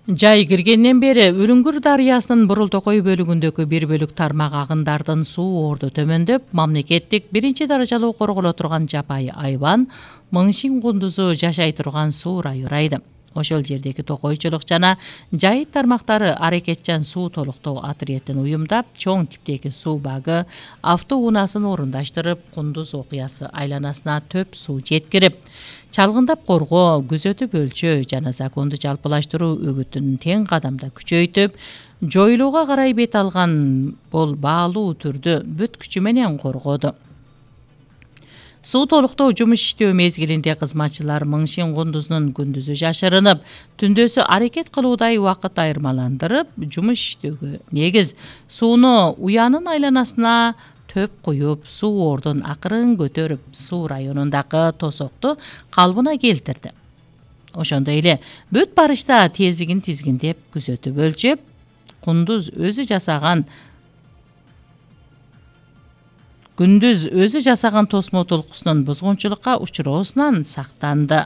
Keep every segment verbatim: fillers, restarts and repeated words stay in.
Жай киргенден бери Үлүңгүр дарыясынын Бурултокой бөлүгүндөгү бир бөлүк тармак агындардын суу орду төмөндөп, мамлекеттик биринчи даражалуу корголо турган жапайы айбан Мыңшин кундузу жашай турган суу ырайы урайды. Ошол жердеги токойчулук жана жайыт тармактары аракетчан суу толуктоо отрядын уюмдап, чоң типтеги суу багы автоунаасын орундаштырып, кундуз окуясы айланасына төп суу жеткирип, чалгындап коргоо, күзөтүп өлчөө жана законду жалпылаштыруу өгүтүн тең кадамда күчөйтүп, жоюлууга карай бет алган бул баалуу түрдү бүт күчү менен коргоду. Суу толуктоо жумуш иштөө мезгилинде кызматчылар Мыңшин кундузунун күндүзү жашырынып, түндөсү аракет кылуудай убакыт айырмаландырып, жумуш иштөөгө негиз сууну уянын айланасына төп куюп, суу ордун акырын көтөрүп, суу районундагы тосокту калыбына келтирди. Ошондой эле бүт барышта тездигин тизгиндеп, күзөтүп өлчөп, кундуз өзү жасаган Күндүз өзү жасаган тосмо толкусунун бузгунчулукка учуроосунан сактанды.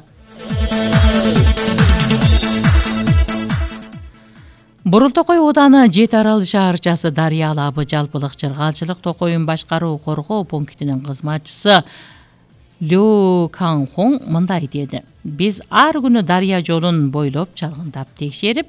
Бурултокой ооданы Жети Арал шаарчасы Дарыя алабы жалпылык чыргалчылык токоюн башкаруу коргоо пунктинин кызматчысы Лю Канхон мындай деди: Биз ар күнү дарыя жолун бойлоп чалгындап текшерип,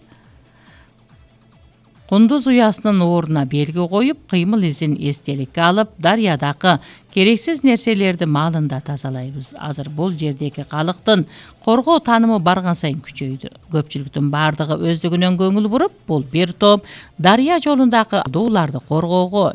кундуз уясынын ордуна белги коюп, кыймыл изин эстеликке алып, дарыядагы керексиз нерселерди маалында тазалайбыз. Азыр бул жердеги калктын коргоо таанымы барган сайын күчөйдү. Көпчүлүктүн бардыгы өздүгүнөн көңүл буруп, бул бир топ дарыя жолундагы дууларды коргоого